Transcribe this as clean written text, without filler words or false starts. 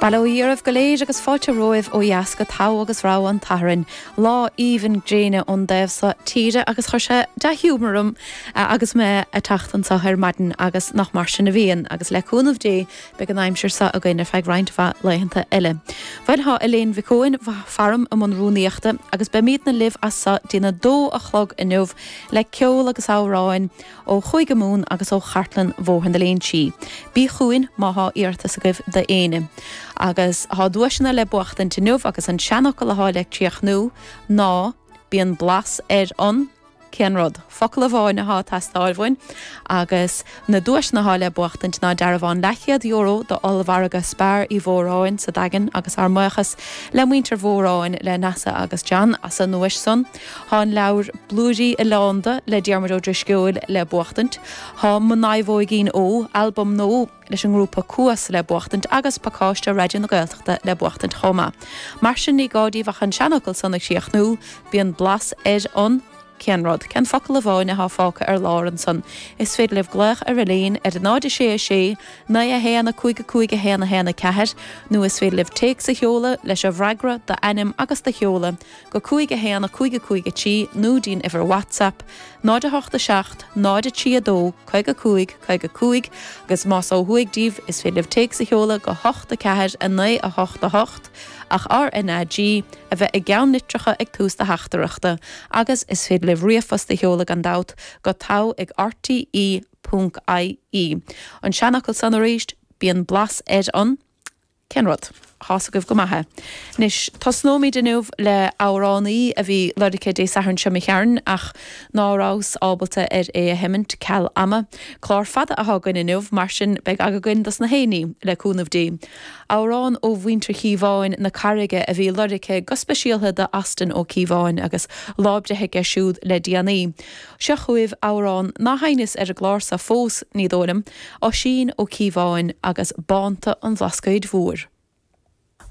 Bail ó Dhia oraibh go léir agus fáilte romhaibh ó dheas go Togha agus Rogha an tSathairn. Lá aoibhinn gréine ón dtaobh so tíre agus chuir sé dea-ghiúmar orm agus mé ag teacht anso ar maidin agus nach mar sin a bhíonn agus le cúnamh Dé beidh an aimsir so againn ar feadh roinnt mhaith laethanta eile. Bhuel thá Elaine Mhic Eoin faram i mbun rúnaíochta agus beimídne libh as so dtí'n 2 a chlog inniu le ceol agus amhráin ó Chúige Mumhan agus ó Chartlann Bhóthar na Léinsí. Bí chugainn má thá iarratas agaibh d'éinne. Agus thá duaiseanna le buachtaint inniu agus an seanfhocal athá le críochnú ná Bíonn blas ar an. Cén rud? Focal amháin athá ag teastáil uainn agus na duaiseanna athá le buachtaint ná dearbhán leathchéad euro do ollmhargadh Spar Uí Mhóráin sa Daingean agus ár mbuíochas le muintir Mhóráin, le Neasa agus John as an nduais san. Thá an leabhar Blúirí Oileánda le Diarmuid Ó Drisceoil le buachtaint, thá Mo Naomhóigín Ó, albam nua leis an ngrúpa Cuas le buachtaint agus pacáiste Raidió na Gaeltachta le buachtaint chomh maith. Mar sin ní gá díbh ach an seanfhocal san a chríochnú, bíonn blas ar an. Cén rud? Cén focal amháin athá fágtha ar lár ansan? Is féidir libh glaoch ar Elaine ar 0 6 6 9 1 5 5 1 1 4 nó is féidir libh téacs a sheoladh leis an bhfreagra, d'ainm agus do sheoladh, go 5 1 5 5 3 nó dtí'n uimhir WhatsApp, 0 8 7 0 3 2 55 55 agus más ó thuaidh díbh is féidir libh téacs a sheoladh go 8 4 9 8 8 ach RNAG a bheith i gceannlitreacha ag tús do theachtaireachta agus is féidir libh ríomhphost a sheoladh gan dabht go togha ag rte ponc ie. An seanfhocal san arís, bíonn blas ar an. Cén rud? Thá's agaibh go maith é. Anois, tosnóimid inniu le amhránaí a bhí lorgtha Dé Sathairn seo imigh tharainn ach ná rabhas ábalta ar é a sheimint ceal ama. Clár fada athá againn inniu, mar sin beidh aga againn dos na héinní, le cúnamh Dé. Amhrán ó mhuintir Chíobháin na Carraige a bhí lorgtha go speisialtha do Austin Ó Cíobháin agus lá breithe aige siúd le déanaí. Seo chugaibh amhrán ná sheinneas ar an gclár so fós, ní dóigh liom, Oisín Ó Cíobháin agus Bánta an Bhlascaoid Mhóir.